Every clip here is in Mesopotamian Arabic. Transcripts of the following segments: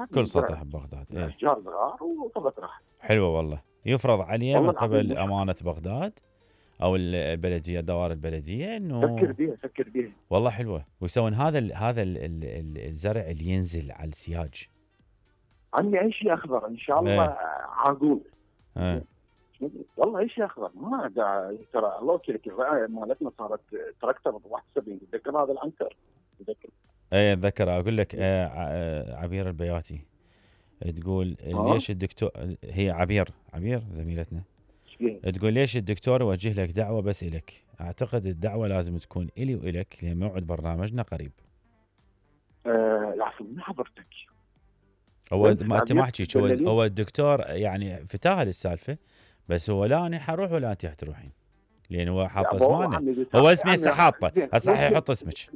ببغداد كل سطح ببغداد. اشجار صغار وصلت راح. حلوه والله. يفرض عليه من قبل امانه بغداد او البلديه، دوائر البلديه، انه فكر بيها والله حلوه. ويسوون هذا الزرع اللي ينزل على السياج. عندي اي شيء اخضر ان شاء الله عاقول. والله اي شيء اخضر ما ترى الله يوفقك. الرعايه مالتنا صارت تراكتر 71. تذكر هذا العنتر؟ تذكر؟ اي اتذكر. اقول لك عبير البياتي تقول ليش الدكتور، هي عبير زميلتنا، تقول ليش الدكتور يوجه لك دعوه بس الك؟ اعتقد الدعوه لازم تكون الي والك لان موعد برنامجنا قريب. العفو من حضرتك. هو ما انت ما حكيت، هو الدكتور يعني فتاها للسالفه، بس هو لا انا حروح ولا انت حتروحين، لان هو حاط اسمانا. هو اسمي هسه حاطه، هسه حيحط اسمك.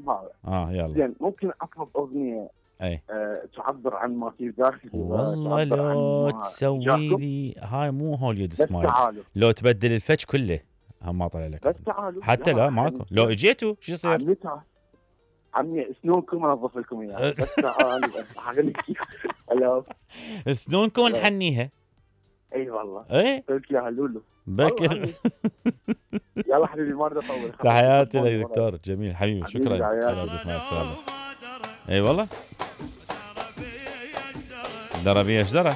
يلا زين ممكن اطلب اغنيه تعبر عن ما في داخلي. والله لو تسوي لي هاي مو هوليود سمايل، لو تبدل الفتش كله هم ما طلع لك. بس تعالوا حتى لا ماكو. لو اجيتوا شو يصير؟ عمي سنونكم انظف لكم اياها. بس تعالوا هلا سنونكم نحنيها. اي والله. قلت يا لولو بكر. يلا حبيبي ما اريد اطول. تحياتي لك دكتور جميل حبيبي. شكرا. مع السلامه. اي والله دربيه اشدره.